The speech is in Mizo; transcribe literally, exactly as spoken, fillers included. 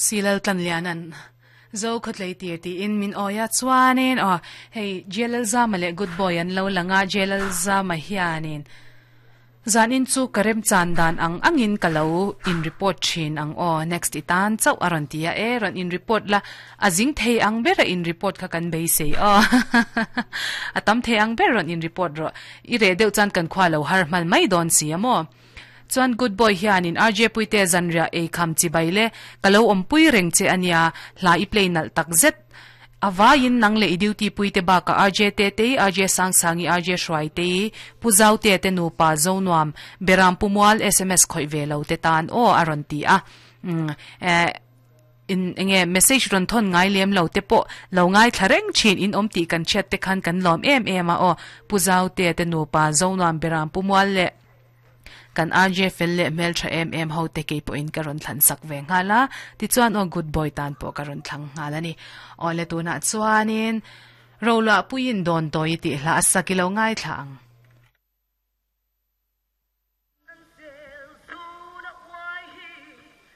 Silal tlan lianan zo khotlei tir ti in min oya chuanin o hei J L Zama le good boy an lo langa. J L Zama hianin zanin chu karem chan dan ang angin kalo in report thin ang o, next itan chau aron tia e. Ron in report la, azing thei ang bera in report kha kan be sei o, atam thei ang ber ron in report ro i re deuh chan kan khwa lo har mal mai don si amo. Chuan good boy hianin R J Puite, zanria e kham chi baile, kalo om pui reng che ania, hla i play nal tak zet awain nang le i duty puite ba ka R J te te, R J sang sangi, R J shwai te, puzau te te nu pa zonuam beram pumual S M S khoi ve lo te tan o aron ti a. mm eh in enge message ron thon ngai lem lo te po lo ngai thlareng chin in om ti kan chat te khan kan lom em em a o. Puzau te te nu pa zonuam beram pumual le kan R J fel le mel tha em em ho te ke po in karon thlan sak ve ngala ti. Chuan o good boy tan po karon thlang ngala ni o le. Tu na chuanin rola puin don toy ti hla asakilo ngai thlang.